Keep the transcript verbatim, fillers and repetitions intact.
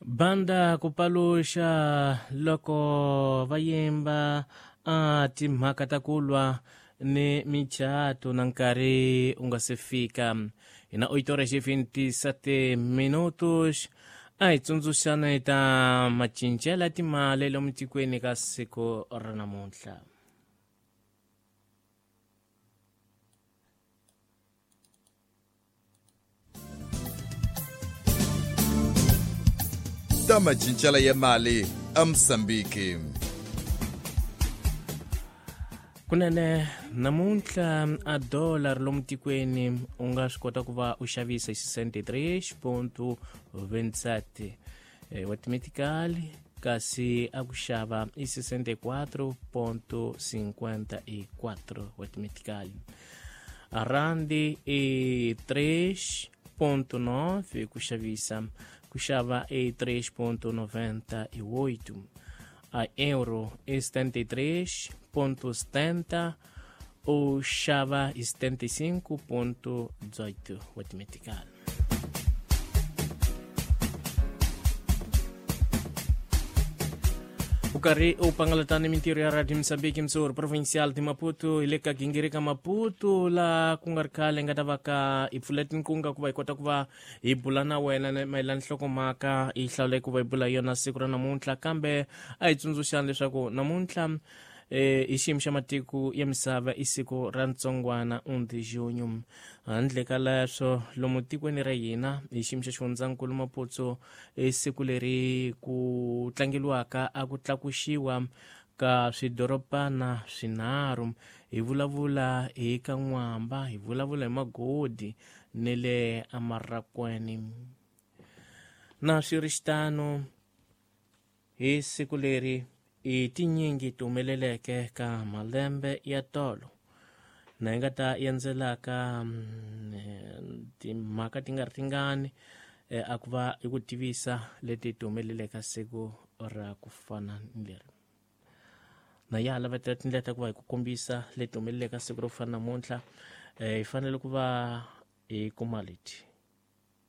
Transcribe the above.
Banda ku paluxa loko va yimba a timhaka ta ku lwa ni micato na nkarhi u nga se fika. Hi na oito horas e vinte e sete minutos. A hi tsundzuxana hi ta macincelo ya timali lomu tikweni ka siku ra namuntlha. Ta macincelo ya mali eMozambique. Kunene namuntlha a dollar lomu tikweni u nga swi kota ku va u xavisa hi sessenta e três ponto vinte e sete wa timetikali, kasi a ku xava i sessenta e quatro ponto cinquenta e quatro wa timetikali. A randi i três ponto nove ku xavisa, ku xava i três ponto noventa e oito. A euro é setenta e três ponto setenta, ou xava e setenta e cinco ponto dezoito o metical. O carri o pangalatani mintirio ya Radio Mozambique msur provincial de Maputo ileka gingirika Maputo la kungarkale nga tavaka ipfuletin kunga kuva ikota kuva ibula na wena mayelana nhlokomhaka i hlawule kuva ibula yona siku ra namuntlha, kambe a hi tsundzuxani leswaku namuntlha eh i xiyimo xa matiko ya misava i siku ra ntsongwana um de junho. Handle ka leswo lomu tikweni ra hina hi xiyimo xa xifundzankulu Maputo i siku leri ku tlangeliwaka a ku tlakuxiwa ka swidorobana swinharhu. Hi vulavula hi ka N'wamba, hi vulavula hi Magodi ni le Amarakweni. Na swi ri xitano hi siku leri i tinyingi ti humeleleke ka malembe ya tolo na hi nga ta endzelaka timhaka ti nga ri tingani a ku va hi ku tivisa leti ti humeleleke siku ra ku fana ni leri. Na ya lavetela tindlela ta ku va hi ku kombisa leti humeleleke siku ro fana namuntlha, hi fanele ku va hi kuma leti.